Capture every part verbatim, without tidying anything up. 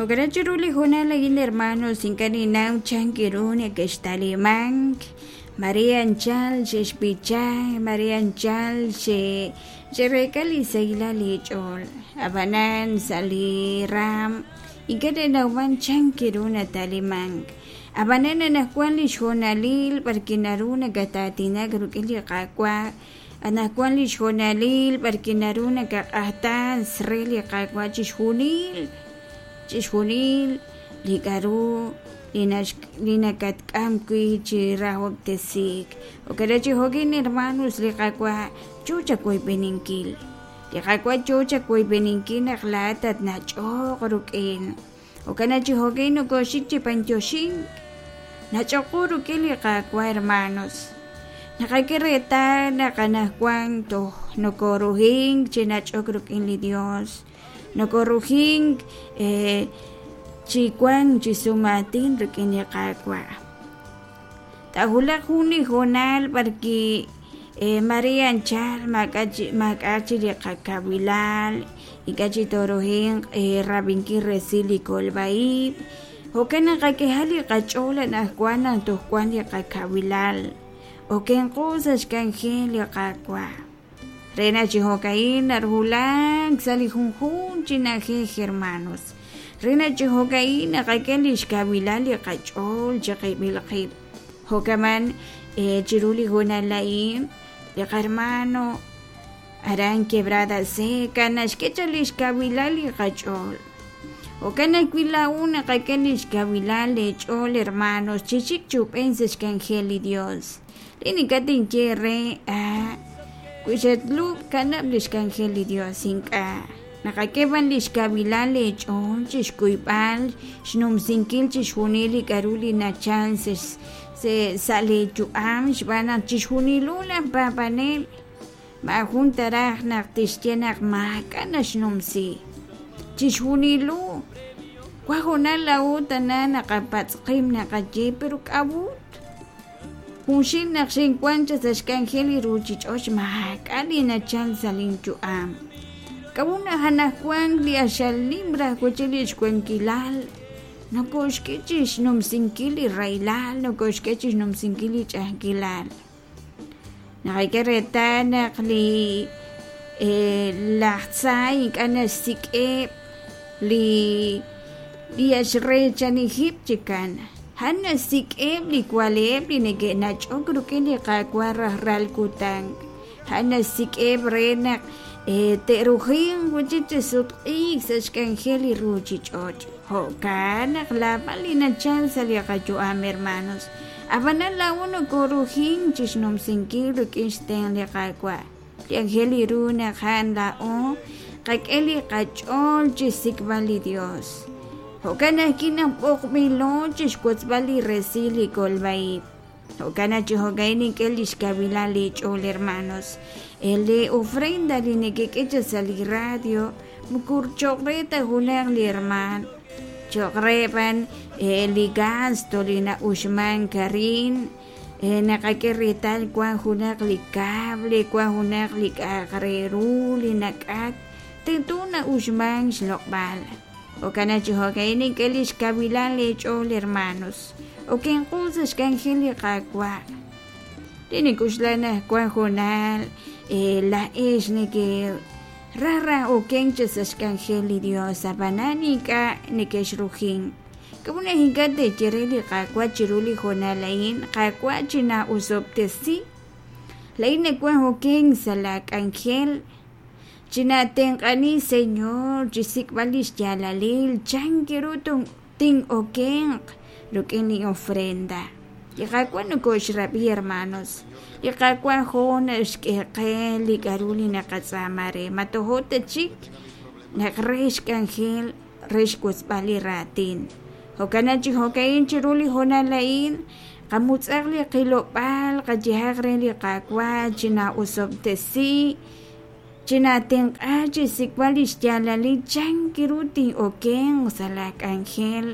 Jo'kan chiru li hoonal a'in hermanos ink'a' ninnaw chan ru neke'xtalimank mare anchal xe'xb'icha mare anchal xe xe'reek'a li sahilal li ch'ool ab'anan sa' li raam ink'a' nanawman chan ru natalimank ab'anan anaqwan li xhoonalil b'arwi' naru nakataatinak rik'in li Qaawa' anaqwan li xhoonalil b'arwi' naru nakaq'ajtas re li Qaawa' chixjunil chixjunil li k'a'ru li nax li nakatk'am wi' chi rahob'tesiik jo'kan chi jo'kin hermanos li Qaawa' yoo chawoyb'eninkil li Qaawa' yoo chawoyb'eninkil naq laa'at tatnach'oq rik'in jo'kan chi jo'kin nokoxik chi b'antioxink nach'oqu rik'in li Qaawa' hermanos naqak'e reetal naq anaqwan toj nokorujink chi nach'ok rik'in li Dios nokorujink eh, chi wank chi sumaatin rik'in li Qaawa' taajulaq jun li hoonal b'arwi' eh, mare anchal maak'a' chi maak'a' chi li qakawilal ink'a' chi toorujinq eh, rab'inkil resil li kolb'a-ib' jo'kan naq qak'eha li qach'ool anaqwan naq toj wan li qakawilal okenqo sa' xk'anjel li Qaawa' re naq chi jo'ka'in narujulak sa' li junjunq chi na'ajej hermanos re naq chi jo'ka'in naqak'e li xkawilal li qach'ool chiqib'il qib' jo'kaman eh, chiru li hoonal a'in li qarmano aran Quebrada Seca naxk'e chaq li xkawilal li qach'ool jo'kan ajwi' laa'u naqak'e li xkawilal leech'ool hermanos chixik chub'en sa' xk'anjel li Dios li ink'a' tinye re ah wi xatlub' kanab' li xk'anjel li Dios ink'a' naqak'e b'an li xkawilal leech'ool chixkuyb'al xnumsinkil chixjunil li k'a'ru li nachal sa' sa' leeyu'am xb'aan naq chixjunilu laj paab'anel maajun taraj naq tixye naq maak'a' naxnumsi chixjunilu wa hoonal laa'u tana naqapatz' qib' naqaye pero k'a'ut junxil naq xinwan chaq sa' xk'anjel li ruchich'och' maak'a' li nachal sa' linyu'am k'a'ut naq anaqwan li axal nim raj wi' li xwankilal nokoxk'e chi xnumsinkil li rahilal nokoxk'e chi xnumsinkil li ch'a'ajkilal naqak'e reetal naq li eh, laj tza ink'a' naxsik'eb' li li axreechanijib' chikan a'an naxsik'eb' li wale'eb' li neke'nach'ok rik'in li Qaawa' rajlal kutan a'an naxsik'eb' re naq eh, te'rujinq wi' chik chi sutq'iik sa' xk'anjel li ruchich'och' jo'kan naq laab'al li nachal sa' li qayu'am hermanos ab'anan laa'u nokorujink chi xnumsinkil rik'in xtenq' li Qaawa' li anjel li ru naq a'an laa'o qak'e li qach'ool chi xsik'b'al li Dios jo'kan ajwi' naq b'oqb'ilo chi xwotzb'al li resil li kolb'a-ib' jo'kan naq chi jo'ka'in nink'e li xkawilal li ch'ool hermanos li ofrenda li nekek'e chaq sa' li radio moko cho'q re ta junaq li hermaan cho'q re b'an li gasto li na'uxmank arin naqak'e reetal wan junaq li cable wan junaq li k'a'aq re ru li nak'at tento na'uxmank xloq'b'al jo'kan naq chi jo'ka'in nink'e li xkawilal leech'ool hermanos okenqo sa' xk'anjel li Qaawa' li nik'uxla naq wan hoonal laa'ex neke raj raj okenk chaq sa' xk'anjel li Dios ab'anan ink'a' neke'xrujink k'a'ut naq ink'a' te'ye re li Qaawa' chiru li hoonal a'in Qaawa' china'usob'tesi la'in nawaj okenk sa' la k'anjel chinatenq'ani Señor chixsik'b'al li xyaalalil chan ru tin'okenq rik'in li ofrenda li Qaawa' nokoxrab'i hermanos li Qaawa' jo' naxk'e qe li k'a'ru li naqatz'aama re ma tojo' ta chik naq re xk'anjel re xwotzb'al li raatin jo'kan naq chi jo'ka'in chiru li hoonal a'in qamutz'aq li qilob'aal qayehaq re li Qaawa' china'usob'tesi chinatenq'a chi xsik'b'al li xyaalalil chan ru tin'okenq sa' la k'anjel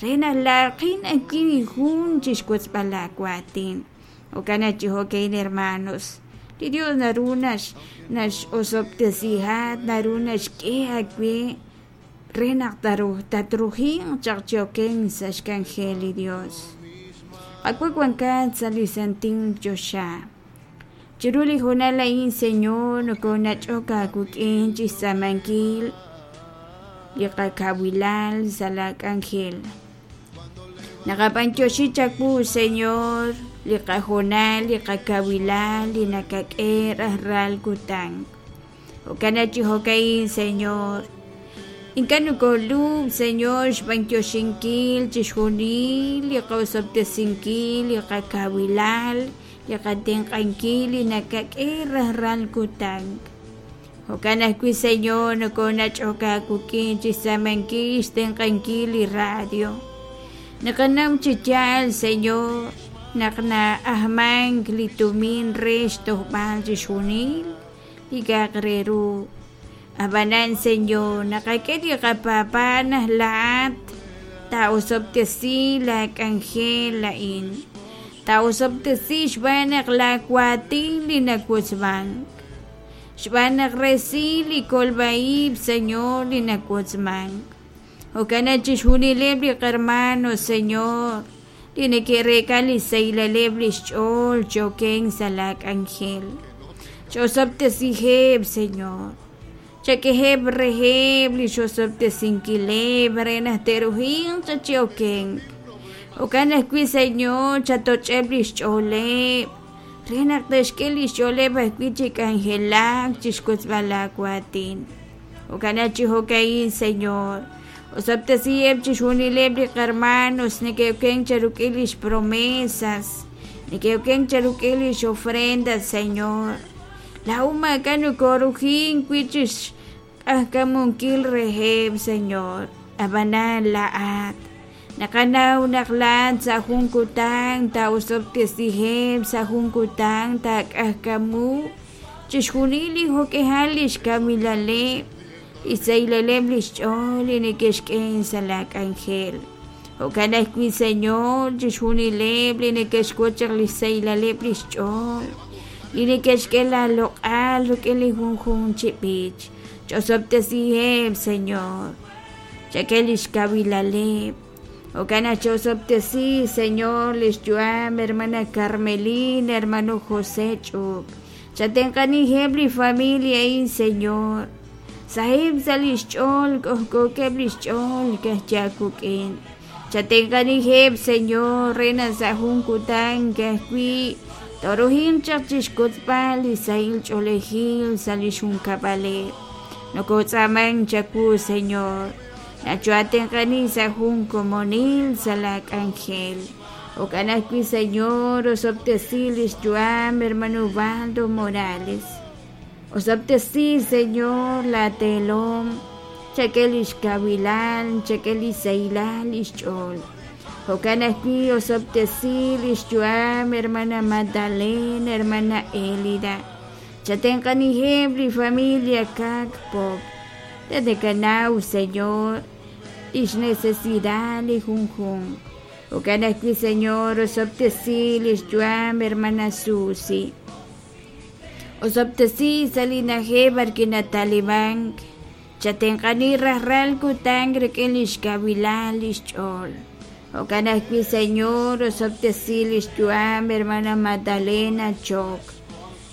re naq laaqin ajwi' jun chi xwotzb'al laawaatin jo'kan naq chi jo'ka'in hermanos li Dios naru nax nax'osob'tesihat naru naxk'e aawe re naq tatruhinq chaq chi okenk sa' xk'anjel li Dios. Qawa' wankat sa' li santil choxa. Chiru li hoonal a'in, Señor, nokonach'ok aawik'in chi xtz'aamankil li qakawilal sa' la k'anjel. Naqab'antioxi chawu, Señor, li qahoonal, li qakawilal, li nakak'e rajlal kutan. Jo'kan chi jo'ka'in, Señor. Ink'a' nokolub', Señor, xb'antioxinkil chixjunil li qosob'tesinkil, li qakawilal, li qatenq'ankil li nakak'e rajlal kutan. Jo'kan ajwi', Señor, nokonach'ok aawik'in chi xtz'aamankil xtenq'ankil li radio. Naqanaw chi yaal, Señor, naq na'ajmank li tumin re xtojb'al chixjunil li k'a'aq re ru. Ab'anan, Señor, naqak'e li qapaab'aal naq laa'at taa'osob'tesi la k'anjel a'in. Taa'osob'tesi xb'aan naq laawaatin li nawotzmank. Xb'aan naq resil li kolb'a-ib', Señor, li nawotzmank. Jo'kan naq chixjunileb' li qarmano, Señor, li neke'reek'a li xsahilaleb' li xch'ool chi okenk sa' la k'anjel. Ch'osob'tesiheb', Señor. Chak'eheb' reheb' li xosob'tesinkileb' re naq te'ruhinq chaq chi okenk. Jo'kan ajwi', Señor, chatoch'eb' li xch'ooleb' re naq te'xk'e li xch'ooleb' ajwi' chi k'anjelak chi xwotzb'al laawaatin. Jo'kan naq chi jo'ka'in, Señor, osob'tesiheb' chixjunileb' li qarmanos neke'okenk cheruk'in lix promesas, neke'okenk cheruk'in lix ofrendas, Señor. Laa'o maak'a' nokorujink wi' chi xq'ajkamunkil reheb', Señor. Ab'anan laa'at naqanaw naq laa'at sa' jun kutan taa'osob'tesiheb', sa' jun kutan taak'ajkamu chixjunil li jo'k'ihal li xkawilaleb', li xsahilaleb' li xch'ool li neke'xk'e sa' la k'anjel. Jo'kan ajwi', Señor, chixjunileb' li neke'xwotz chaq li xsahilaleb' li xch'ool, li neke'xk'e la loq'al rik'in li junjunq chi b'ich. Ch'osob'tesiheb', Señor. Chak'e li xkawilaleb'. Jo'kan naq ch'osob'tesi, Señor, li xyu'am hermana Carmelina, hermano José Ch'up. Chatenq'aniheb' li familia a'in, Señor. Saheb' sa' li xch'ool, k'ojk'ookeb' li xch'ool kajchaakuk'in. Chatenq'aniheb', Señor, re naq sa' jun kutan kajwi' toruhinq chaq chi xkotzb'al li sahil ch'oolejil sa' li xjunkab'aleb'. Nokotz'aamank chawu, Señor. Nachoatenq'ani sa' jun komonil sa' la k'anjel. Jo'kan ajwi', Señor, osob'tesi li xyu'am hermano Ubaldo Morales. Osob'tesi, Señor, la teelom, chak'e li xkawilal, chak'e li sahilal li xch'ool. Jo'kan ajwi' osob'tesi li xyu'am hermana Magdalena, hermana Elida. Chatenq'aniheb' li familia Kak Pop. Tatekanaw, Señor, lix necesidad li junjunq. Jo'kan ajwi', Señor, osob'tesi li xyu'am hermana Susi. Osob'tesi sa' li na'ajej b'arwi' natalimank. Chatenq'ani rajlal kutan rik'in li xkawilal li xch'ool. Jo'kan ajwi', Señor, osob'tesi li xyu'am hermana Magdalena Chok.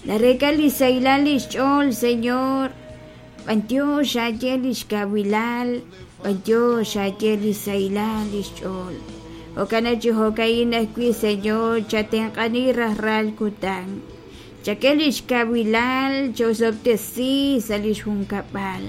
Nareek'a li sahilal li xch'ool, Señor. B'antiox xaye li xkawilal, b'antiox xaye li sahilal li xch'ool. Jo'kan naq chi jo'ka'in ajwi', Señor, chatenq'ani rajlal kutan. Chak'e li xkawilal, ch'osob'tesi sa' li xjunkab'al.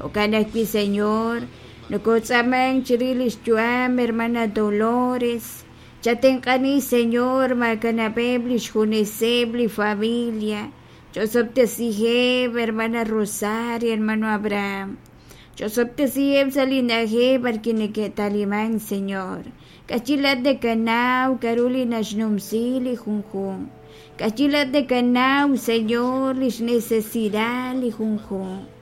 Jo'kan ajwi', Señor, nokotz'aamank chirix li xyu'am hermana Dolores. Chatenq'ani, Señor, maakanab'eb' li xjuneseb' li familia. Ch'osob'tesiheb', hermana Rosario, hermano Abraham. Ch'osob'tesiheb' sa' li na'ajej b'arwi' neke'talimank, Señor. K'achilat nakanaw k'a'ru li naxnumsi li junjunq. K'achilat nakanaw, Señor, lix necesidad li junjunq.